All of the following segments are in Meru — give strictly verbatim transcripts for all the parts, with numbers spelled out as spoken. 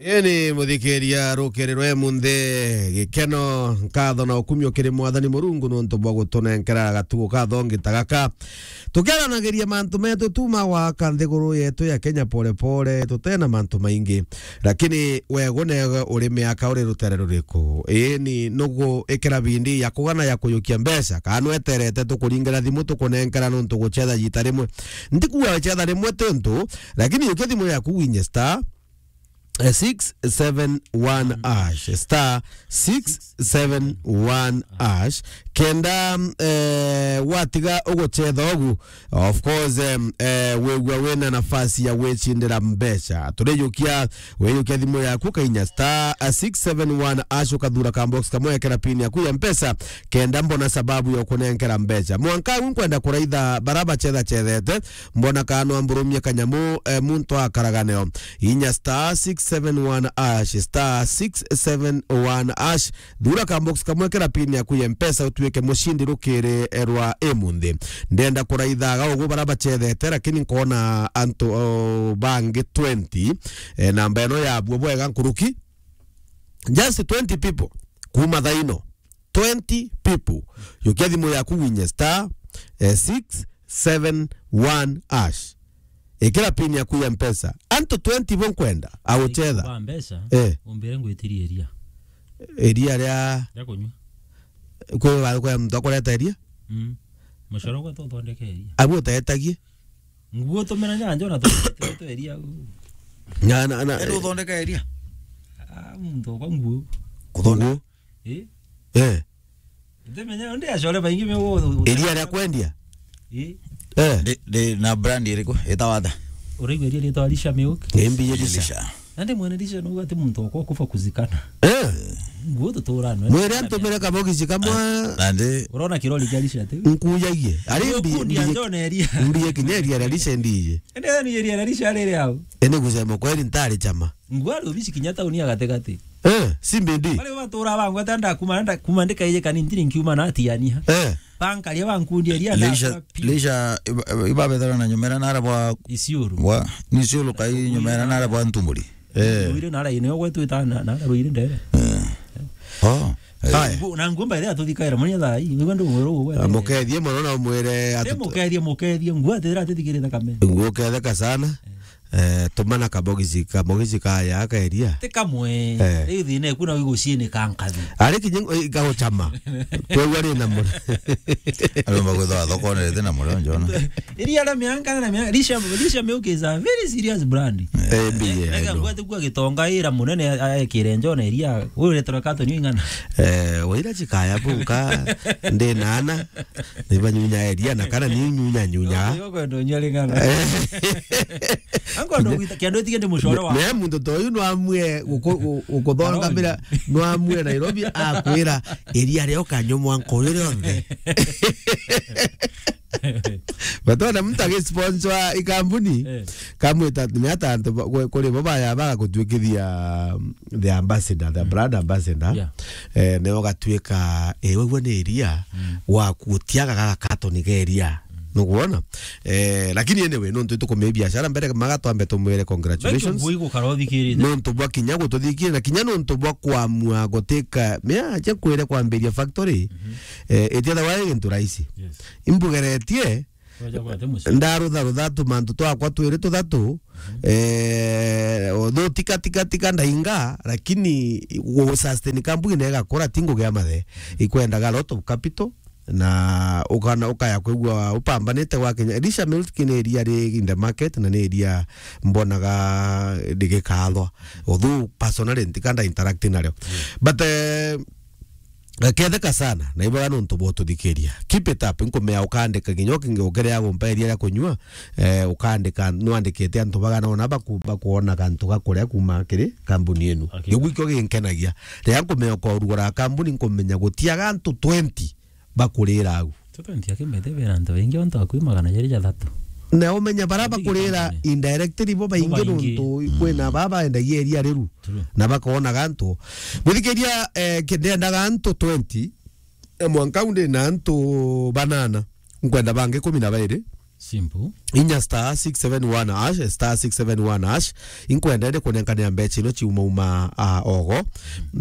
Eni muthikiria, rukiri rwa emunthi, gikeno, nkatho na ukumio kiri Mwathani Murungu nuntu bwa gutunenkera gatugo kathongi ta gaka. Tukiaranagiria mantu metu tuma gwaka nthiguru yetu ya Kenya pole pole, tutena mantu maingi. Lakini we gune uri miaka uri rutere ruriku? Eni nugu ikira bindi ya kugana ya kuyukia mbeca, kana nweterete tukuringira thimu tukunenkera nuntu gucetha jita rimwe. Ntikuga wecetha rimwe tuntu, lakini yukia thimu yaku winye star eh, six seven one hash, star six seven one hash, kenda, eh, watiga ugucetha ugu, of course, em, eh, wigua wina nafasi ya gwicindira mbeca. Turijukia, wiyukia thimu yaku, kainya star six seven one hash, ukathura ka box kamwe, ekera pin yaku ya Mpesa, kenda mbona sababu ya kunenkera mbeca. Mwanka u nkwenda kuraitha bara bacethacethete, mbona kana no amburumie kanyamu, eh, muntu akaraga neo. Inya star six seven one hash, star six seven one hash. Thura ka box kamwe, kera pin yaku ya Mpesa, utuike mucindi rukiri, eh, rwa imunthi. Ndenda kuraithaga ugu bara bacethete, lakini nkona antu, oh, bangi twenty. Eh, namba ino yabuo bwega nkuruki. Just twenty people. Kuma thaino. Twenty people. Yukia thimu yaku winye star, eh, six seven one hash. Ikira pin yaku ya Mpesa. Antu twenty bo nkwenda agucetha. Ba mbeca, eh, umbire ngwitirie iria. Iria ria, ria kunywa. Kwi ba, kwi muntu akureta iria? Mm. Mucoro gwe tuthondeke iria. Abu utetagie? Nguo tumena nyanjo na tu-, tu-, tu iria. Na, na, na, ende uthondeka iria? Ah, muntu okwa nguo. Kuthondeka? Nguo. Eh? Eh. Ndimenya, ndi acore baingi me wo-, iria ria kwendia? Eh. Eh. Ndi, ndi na brand iriku? Itawa ata? Uraigua iria ritwa Lisha Milk? Ni mbi Lisha. Lisha. Na ndi mwene Lisha, nuga ati muntu okwa kufa kuzikana. Eh. Nguo tutura nwe. Mwire antumire kabogisi kamwe. Na ndi urona kirori kia Lisha ati? Nkuyagie. Ari mbi, mbi, njone iria. Mbi kinya iria ria Lisha ndiye. Ende ni iria ria Lisha riri au. Ende kusema kweli ntari chama. Nguo ari ubici kinya tauni ya gatigati. Eh, si mbindi. Bari batura bangwa tanda kuma, nda kuma ndikaije kani ntiri nkiuma na atiania. Eh. Bankaria bankundia ria Lisha, Lisha, iba-, iba-, ibabethera na nyumera nara bwa Isiuru. Bwa, ni Isiuru kai nyumera nara bwa Ntumburi. Eh. Ruire nara ine ogwe twita na, na ruire ndere. Eh. Oh. Eh. Haya. Ngu-, na ngumba ire atuthikaira manya thaa hii. Wigwa ndu mwero gwe. Mukethie mono na umwire atu- mukethie, mukethie. Nguo atira atithikirite kamene. Nguo ketheka sana. Eh. Eh, tumana kabogisi, kabogisi kaya kaeria. Ti kamwe. Eh. Riu thina eku na wiguciini ka nkathi. Ari kinya, eh, gaguchama. Kweu ari na mure. Aromba kwithwa thokone rete na mure, njona. Iria aria mianka na mianka, Lisha, Lisha Milk is a very serious brand. Eh, mbi, eh, ega no. Ngwate kwa gitonga ira munene a-, aekire njona iria, uretera katoni ing'ana. Eh, waira chikaya bunka, ndi nana. Ni banyunya eria na kana ni nyunya nyunya. Yo kwenda unyua ring'ana. Eh. Ankwenda gwita kiandu etige ndi mucore wa. Ne muntu to yu no amwe guku-, gu-, gukuthonga Karoni. Mbira, no amwe Nairobi akwira iria rio kanyo mwanko uri rionthe. Batona muntu agisponsor ikambuni. Eh. Kamwita ni ata antu ba-, kwe-, kuri bo baya bagagutwikithia the ambassador, the brand ambassador. Yeah. Eh, neo gatuika, eh, wegua ni iria, mm, waku utiaga gaga katoni ga iria. Mm. Nukwona? Eh, lakini anyway, nontu tukumia biashara mbere, maga twambe tumwire congratulations. Thank you, bui gukara uthikirite. Nontu bwa kinya gututhikiria, na kinya nontu bwa kwamua gutika, mea, acha kwire kwambiria factory. Mhm. Eh, itiethawa i gintu rahisi. Yes. Imbugeretie, Wacha kwate mucii. Ndarutharutha tumantu twakwa twiri tuthatu, mhm, eh, although tika, tika, tika ndainga, lakini gu-, sustain kampuni na igakura, ti ngugi ya mathe. Ikwendaga a lot of capital, na ukana, ukaya kwigua upambanite gwa Kenya. Lisha Milk ni iria ri in the market, na ni iria mbonaga rigikathwa. Although personally ntika nda interact nario. Mm. But, eh, gaketheka sana, na ibaga nontu bwa ututhikiria. Keep it up, nkumea ukandika kinya ukingi ukere ya gumpa iria ria kunyua, eh, ukandika, nwandikite antu bagana ona baku-, bakuona kantu ga kuria kuma kiri kambuni inu. Okay. Kiu gikio ginkenagia. Riria nkumea ukorugura kambuni, nkumenya gutiaga antu twenty bakurira au. Tutu ntiakimete bera antu baingi ontu akui magana jeri jathatu. Na umenya bara bakurira indirectly bo baingi nontu kwina baba endagia iria riru. True. Na bakoonaga antu. Mwithikiria, eh, ki-, ndendaga antu twenty, eh, mwanka u ndi na antu banana. Nkwenda bangi kumi na bairi. Simple. Inya star six seven one hash, star six seven one hash. Inkwenda ndi kunenkanira mbecha ino ciumauma, ah, ogo.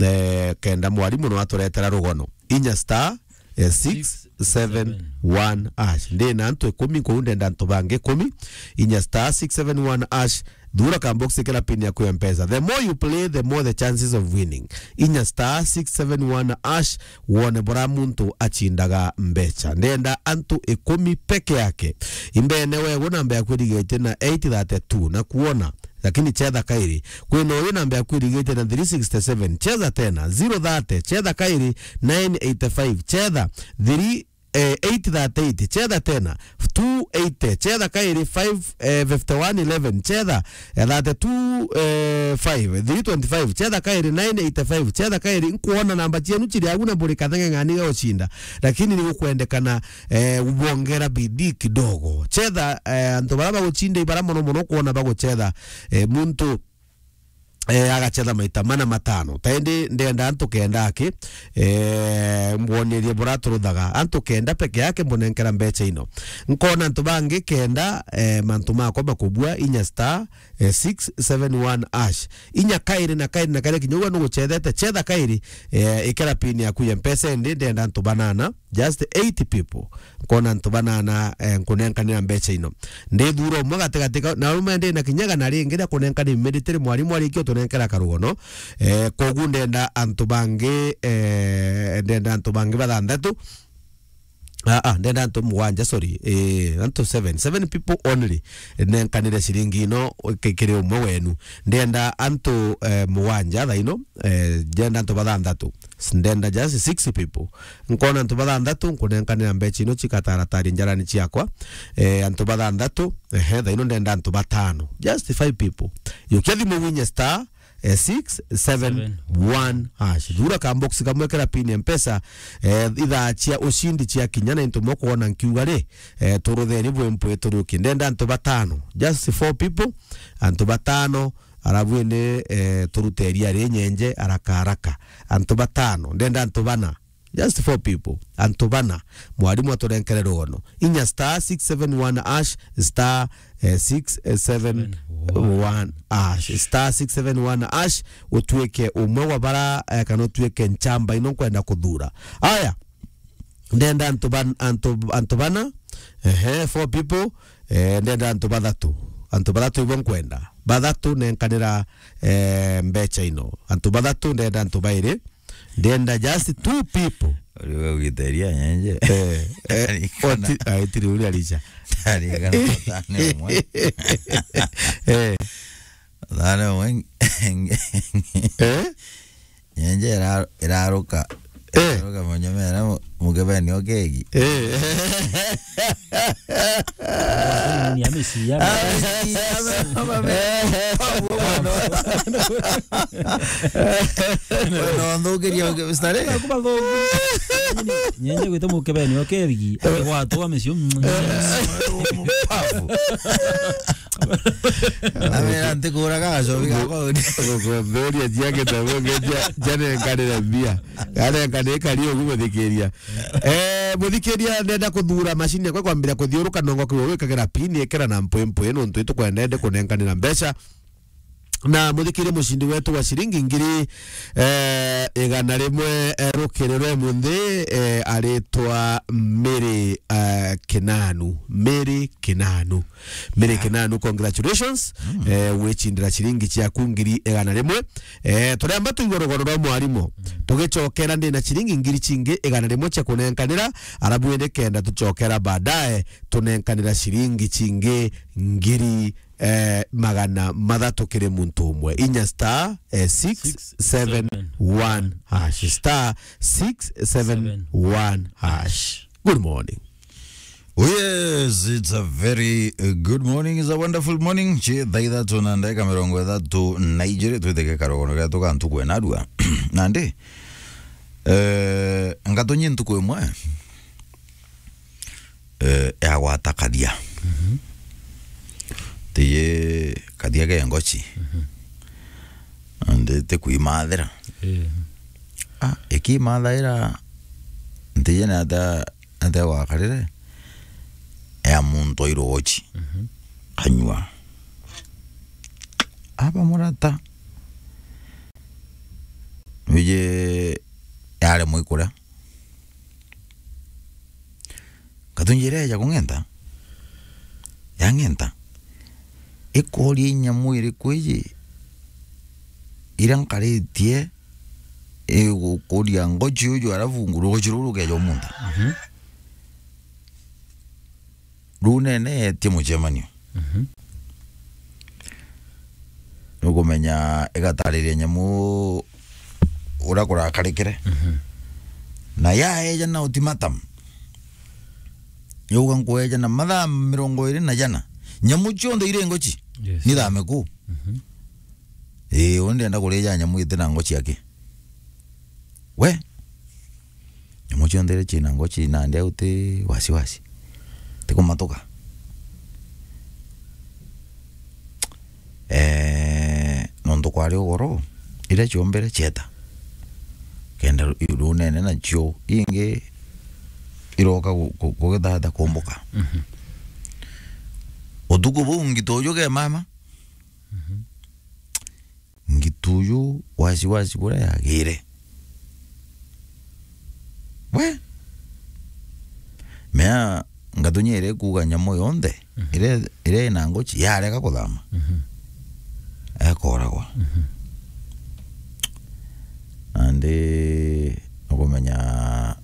Eh, kenda mwarimu no aturetera rugono. Inya star, eh, six seven one hash. Ndi na antu ikumi, kou ndenda antu bangi ikumi. Inya star six seven one hash. Thura ka box, ikira pin yaku ya Mpesa. The more you play, the more the chances of winning. Inya star six seven one hash, wone bora muntu achindaga mbecha. Ndenda antu ikumi peke yake. Imbene wegu namba yaku irigitie na eight thirty-two na kuona. Lakini chetha kairi. Kwina uyu namba yaku irigitie na three sixty-seven. Cheza tena. Zero thirty. Chetha kairi. Nine eighty-five. Chetha. Three eh, eight thirty-eight, chetha tena, two eighty, chetha kairi, five, eh, fifty-one eleven, chetha, eh, thirty-two, eh, five, three twenty-five, chetha kairi, nine eighty-five, chetha kairi, nkuona namba cienu ciri agu na buri katheng'eng'ani ga ucinda, lakini ni gukwendekana, eh, ubongera bidii kidogo. Chetha, eh, antu bara bagucinda ibara mono mono kuona baguchetha, eh, muntu eh, agachetha maita mana matano. Ta indi ndenda antu kenda aki, eh, mbwonerie buraturuthaga. Antu kenda peke yake mbunenkera mbecha ino. Nkona antu bangi kenda, eh, mantu makwa makubua inya star, eh, six seven one hash. Inya kairi na kairi na kairi kinya ugwe nuguchethete, chetha kairi, eh, ikira pin yaku ya Mpesa indi ndenda antu banana. Just eight people. Nkona antu banana, eh, nkunenkanira mbecha ino. Ndithura umwe gatigati ka, na ume ndi na kinya igana ringi ria kunenkana immediately mwarimu arikia utunenkera karugono. Eh, kogu ndenda antu bangi, eh, ndenda antu bangi bathanthatu. Ah, ah, ndenda antu mugwanja, sorry. Eh, antu seven. Seven people only. Nenkanire ciringi ino ki-, kiri umwe wenu. Ndenda antu, eh, mugwanja thaino. Eh, ndenda antu bathanthatu. Ndenda just six people. Nkona antu bathanthatu, nkunenkanira mbecha ino cikataratari njarani ciakwa. Eh, antu bathanthatu, ehe, thaino ndenda antu batano. Just five people. Yukia thimu winye star, eh, six seven one hash. Thura ka box kamwe kira pin ya Mpesa, eh, ithaa cia ushindi cia kinya na into mokwona nkiuga ri, eh, turutheni bwe mpwe turiuki. Ndenda antu batano. Just four people, antu batano, arabu indi, eh, turute iria ri nyenje, haraka, haraka. Antu batano, ndenda antu bana. Just four people. Antu bana. Mwarimu aturenkere rugono. Inya star six seven one hash, star, eh, six seven one hash. Star six seven one hash, utuike umwe wa bara, eh, kana utuike nchamba ino nkwenda kuthura. Aya. Ndenda antu ban-, antu, antu bana. Ehe, four people. Eh, ndenda antu bathatu. Antu bathatu ibo nkwenda. Bathatu nenkanira, eh, mbecha ino. Antu bathatu ndenda antu bairi. Ndenda just two people. Uri we ugiteria nyenje. Eh, eh, oti-, ai, tiri uri arisha. Arikana thani umwe. Eh. Thani umwe. Eh? Nyenje ira-, iraruka. Eh. Iraruka monyomera mu-, mukebeni okegi. Eh. Ni amesiya. No, nthukiria, stare. Kuma thungu. Nyenje gwita mukebeni okegi. Gwatwa amesiyo. Pafu. Amera ntikuraga gacobi gakwa uni. Gukomberia cia gitabu ngeja, janenkanire mbia. Ganenkanire kari ugu muthikiria. Eh, muthikiria, ndenda kuthura macini yakwa kwambira kuthiuruka nongo kiwe wikagira pin ikira na mpwi mpwi nuntu itukwenda indi kunenkanira mbeca. Na muthikirie mucindi wetu wa ciringi ngiri, eh, igana rimwe, eh, rukiri rwe munthi, eh, aritwa Mary, eh, Kinanu. Mary Kinanu. Mary Kinanu, congratulations. Eh, wicindira ciringi ciaku ngiri igana rimwe. Eh, turiamba tuigwe rugono rwa mwarimu. Tugicokera ndina ciringi ngiri cingi igana rimwe cia kunenkanira, arabu indi kenda tucokera baadaye tunenkanira ciringi cingi ngiri eh, magana mathatu kiri muntu umwe. Inya star, eh, six seven one hash. Star six seven one hash. Good morning. Oh yes, it's a very, uh, good morning. It's a wonderful morning. Chi thaa ithatu na ndagika mirongo ithatu na ijiri, twithike karogono getu ka ntuku enarua. Nandi, eh, ngatonye ntuku imwe. Eh, yagwata kathia. Mhm. Tiye kathia ke ngochi. Mhm. Ndi ti kwimathira. Eh. Ah, ikimathaira, ntiye ni ata, ata gwakarire. ya muntu airochi. Mhm. Anyua. Aba murata. Wije yare mwikura. Katunjira eja kung'enta. Yang'enta. Ikoria inyamu iriku iji? Ira nkaritie, igukuria ngochi uju, alafu rugochi ruu rukeja umunta. Mhm. Ruu nene etie mucemanio. Mhm. Nukumenya igatariria nyamu uria kurakarikire. Mhm. Na yaeja na ultimatum. Yauga, "Nkweja na mathaa mirongo iri na jana. Nyamu cionthe iri ngochi. Yes. Nithame ku." Mhm. Ii, uu ndenda kurija nyamu iti na ngochi aki. We? Nyamu cionthe iria ciina ngochi nandi au ti wasiwasi. Ti kumatuka. Eh, nontu kwari ugoro, iria ciombere cieta. Kenda ru-, runene nacio ingi iroka gu-, gu-, gugithatha kumbuka. Mhm. Utuku buu ngituju ke mama. Mhm. Ngituju wasiwasi buria yagire. We? Mea ngatunya iri kuuga nyamu yonthe, mhm, iria, iria ina ngochi yarega kuthama. Mhm. Ekoragwa. Mhm. Nandi nukumenya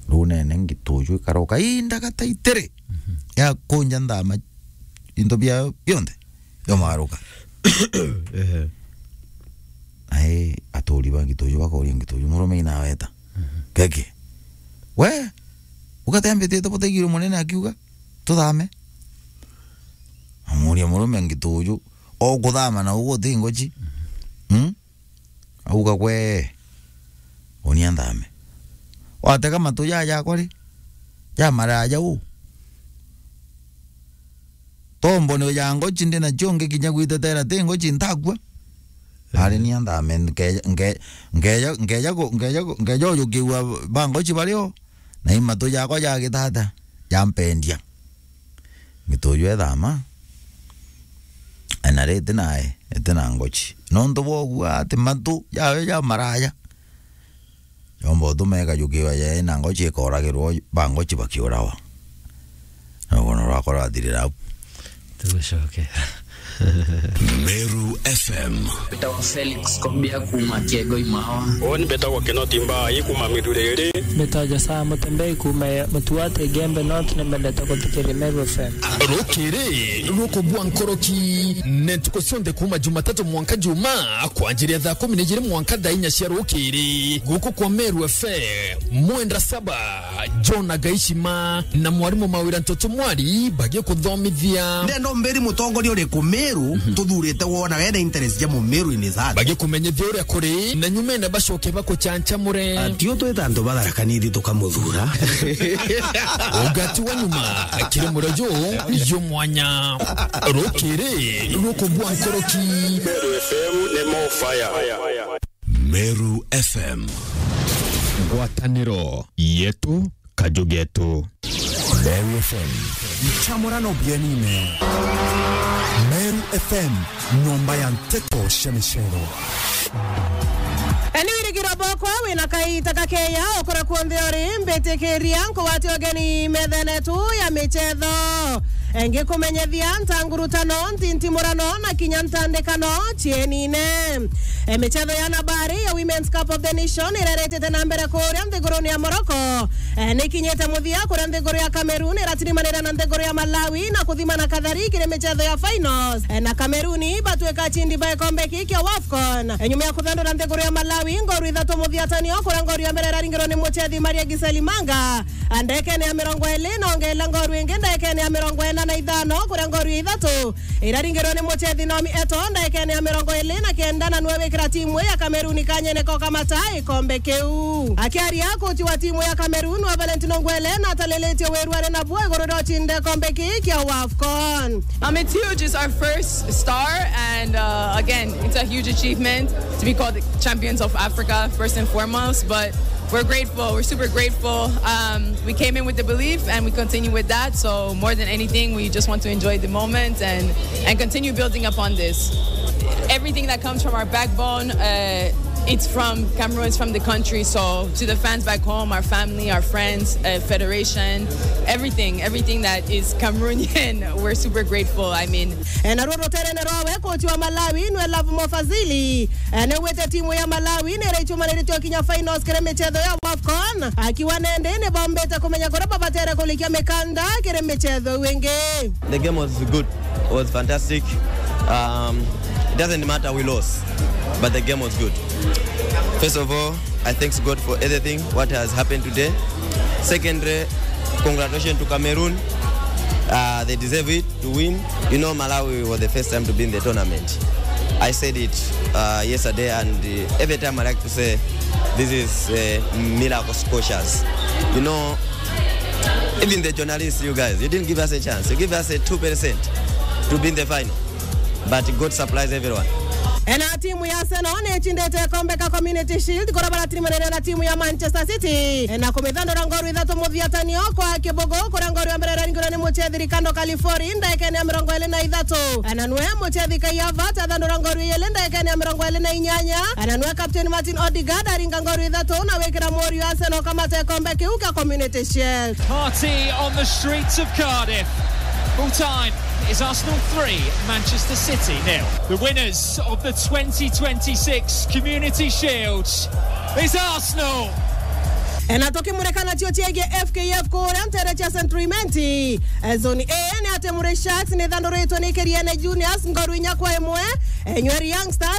runene ngituju ikaroka indaga taitiri. Mhm. Ya kunja nthama into biayo bionthe. Yomagaruka. Ehe. Ai, aturi ba ngituju bakoria ngituju, "Murume inaweta." Mhm. Keke. "We, ugatembetete butaigirwe munene akiuga, tuthame?" Amuria murume ngituju, "O kuthama na ugu uti ngochi?" Mhm. Hmm? Auga, "Gwe, unia nthame." Watega matu ja jakwa ri, ja maraya uu. Tombo ni ja ngochi ndi nacio ngikinya gwitetera ti ngochi ntakua. Ari nia nthame nkeja, nke-, nkeja, nkeja ku-, nkeja ku-, nkeja ujukiwa ba ngochi bario, na i matu jakwa ja gitata, jampendia. Ngituju ethama, ena ri iti nae, iti na ngochi. Nontu bwa uguo ati matu jawe ja maraya. Yomba utume ikajukiwa ja ina ngochi ikoragirwo, ba ngochi bakiurawa. Na uguo no rwakwa rwathirira au. Tugucoke. Meru F M. Mbetawa Felix Kobia kuuma Kiego Imawa. Uni mbetagwa Kinoti Mbai kuuma Miruriri. Mbetawa Josaa Mutembei kuuma Mutuate Igembe North, ni mbendete kuthikiria Meru F M. Rukiri rukubua nkoroki ni ntuku cionthe kuuma Jumatatu mwanka Juma, kwanjiria thaa kumi na ijiri mwanka thaa inya cia rukiri. Guku kwa Meru F M, Mwenda Saba, John Agaishima na mwarimu Mawira Ntoto Mwari bagikuthomithia. Ndenda umbiri mutongoria uriku Meru, mhm, tuthurite wona wena interest ja Mumeru in his heart. Bagikumenyithia uria kuri, na nyumene bacoke bakuchanchamure. Atio twita antu batharakanithi tukamuthura. Ugati wa nyuma, kiri murojo, yo mwanya. Rukiri rukubua nkoroki. Meru F M ni more fire. Meru F M. Ngwataniro yetu, kaju getu. Meru F M. Nchamurano bienine. Meru F M, nyomba ya nteto cia micero. Ni wirigiro bokwa wina kaita gakeya ukura kunthe uri, mbitikiria nkugwate ugeni methene tu ya michetho. Ngikumenyethia ntangurutano, ntintimurano na kinya ntandikano cienine. E, michetho ya nabari ya Women's Cup of the Nation ireretete na mbere kuria nthiguruni ya Morocco. E, nikinyite muthia kuria nthiguru ya Cameroon iratirimanira na nthiguru ya Malawi na kuthimana kathari kiri michetho ya finals. E, na Cameroon batwika acindi ba gikombe giki kia wafcon. E, nyuma ya kuthandura nthiguru ya Malawi ngoru ithatu muthiatanio, kuria ngoru ya mbere iraringirwo ni muchethi Maria Giseli Manga ndagikene ya mirongo iri na ongeela ngoru ingi ndagikene ya mirongo ina na ithano, kuria ngoru ya ithatu iraringirwo ni muchethi Naomi Eto ndagikene ya mirongo iri na kenda, na niwe wikira timu ya Cameroon kanyene ko kamata ikombe kiu. Akiaria, kochi wa timu ya Cameroon wa Valentino Ngwele natalilitie wiru ari nabuo iguru ria ucinde ikombe kii kia wafcon. Um, it's huge. It's our first star, and, uh, again, it's a huge achievement to be called the champions of Africa, first and foremost. But We're grateful. We're super grateful. Um, we came in with the belief and we continue with that. So more than anything, we just want to enjoy the moment and, and continue building upon this. Everything that comes from our backbone, uh, it's from Cameroon, it's from the country. So to the fans back home, our family, our friends, uh, federation, everything, everything that is Cameroonian, we're super grateful. I mean, E, naruo ruterene rwawe, kochi wa Malawi nwe Love Mofazili, e, nigwite timu ya Malawi niraichumaniritie kinya finals kiri michetho ya AFCON. Akiwa nende nibombite kumenya kuria babatere kurikia mikanda kiri michetho iu ingi. The game was good, was fantastic. Um, it doesn't matter we lost, but the game was good. First of all, I thanks God for everything what has happened today. Secondly, congratulations to Cameroon. Uh, they deserve it to win. You know, Malawi was the first time to be in the tournament. I said it, uh, yesterday, and, uh, every time I like to say, this is, uh, miracle scotias. You know, even the journalists, you guys, you didn't give us a chance. You give us a two percent to be in the final. But God supplies everyone. E, na timu ya Arsenal ni ichindite kombe ka Community Shield kuria baratirimanire na timu ya Manchester City, e, na kumithandura ngoru ithatu muthiatanio kwa kibugu, kuria ngoru ya mbere iraringirwe ni muchethi Ricardo Calafori ndagikene ya mirongo iri na ithatu, e, na nwe muchethi Kai Havertz athandura ngoru ijiri ndagikene ya mirongo iri na inyanya, e, na nwe captain Martin Odegaard aringa ngoru ithatu na gwikira muriu Arsenal kamata ikombe kiu kia Community Shield. Party on the streets of Cardiff. Full time. It's Arsenal three, Manchester City nil. The winners of the twenty twenty-six Community Shield is Arsenal. E, na tukimurika nacio ciegie F K F kuria ntere cia Central Imenti. E, zone A ni ati Murray Sharks ni ithanduritwe ni Kiriene Juniors ngoru inya kwa imwe. E, Nyeri Young Stars